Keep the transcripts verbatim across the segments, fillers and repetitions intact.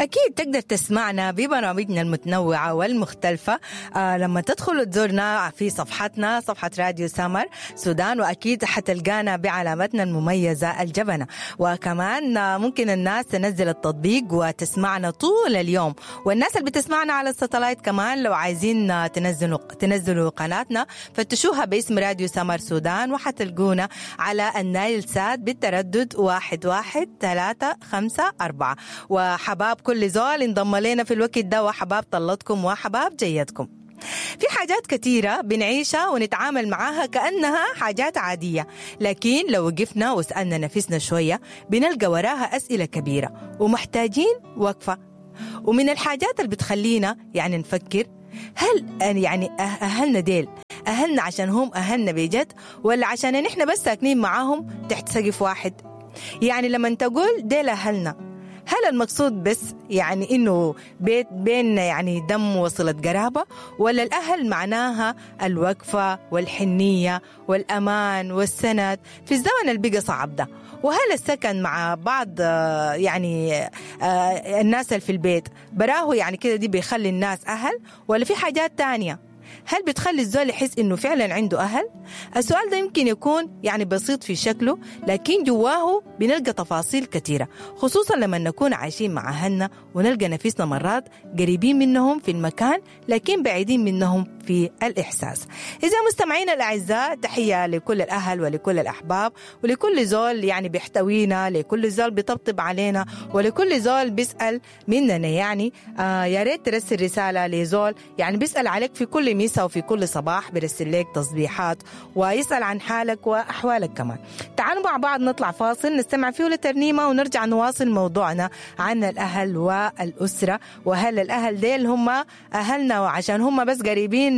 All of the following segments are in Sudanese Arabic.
أكيد تقدر تسمعنا ببرامجنا المتنوعة والمختلفة آه لما تدخل تزورنا في صفحتنا، صفحة راديو سمر سودان، وأكيد حتلقانا بعلامتنا المميزة الجبنة. وكمان آه، ممكن الناس تنزل التطبيق وتسمعنا طول اليوم، والناس اللي بتسمعنا على الستلايت كمان لو عايزين آه، تنزلوا تنزلوا قناتنا فتشوها باسم راديو سمر سودان، وحتلقونا على النايل سات بالتردد واحد واحد ثلاثة خمسة أربعة. وحباب كل زول انضم لنا في الوقت ده، وحباب طلتكم وحباب جيتكم. في حاجات كتيرة بنعيشها ونتعامل معاها كأنها حاجات عادية، لكن لو وقفنا وسألنا نفسنا شوية بنلقى وراها أسئلة كبيرة ومحتاجين وقفة. ومن الحاجات اللي بتخلينا يعني نفكر، هل يعني أه- أهلنا ديل أهلنا عشان هم أهلنا بجد، ولا عشان نحن بس ساكنين معاهم تحت سقف واحد؟ يعني لما تقول ديل أهلنا، هل المقصود بس يعني إنه بيت بيننا يعني دم وصلة قرابة، ولا الأهل معناها الوقفة والحنية والأمان والسند في الزمن اللي بقى صعب ده؟ وهل السكن مع بعض آه، يعني آه، الناس اللي في البيت براه يعني كده دي بيخلي الناس أهل، ولا في حاجات تانية؟ هل بتخلي الزول يحس إنه فعلا عنده أهل؟ السؤال ده يمكن يكون يعني بسيط في شكله، لكن جواه بنلقى تفاصيل كثيرة، خصوصا لما نكون عايشين مع أهلنا ونلقى نفسنا مرات قريبين منهم في المكان لكن بعيدين منهم في الإحساس. إذا مستمعينا الأعزاء، تحية لكل الأهل ولكل الأحباب ولكل زول يعني بيحتوينا، لكل زول بيطبطب علينا، ولكل زول بيسأل مننا. يعني آه يا ريت ترسل رسالة لزول يعني بيسأل عليك في كل مساء وفي كل صباح، بيرسل لك تصبيحات ويسأل عن حالك وأحوالك كمان. تعالوا مع بعض نطلع فاصل نستمع فيه لترنيمة ونرجع نواصل موضوعنا عن الأهل والأسرة، وهل الأهل ديل هم أهلنا وعشان هم بس قريبين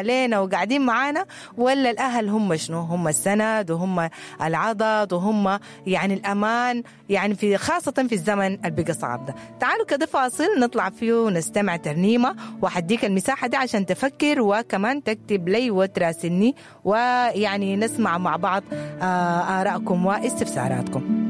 لينا وقاعدين معانا، ولا الأهل هم شنو؟ هم السند وهم العضد وهم يعني الأمان، يعني في خاصة في الزمن اللي بقى صعب ده. تعالوا كده فاصل نطلع فيه ونستمع ترنيمة، وحديك المساحة دي عشان تفكر وكمان تكتب لي وتراسلني، ويعني نسمع مع بعض آه، آرائكم واستفساراتكم.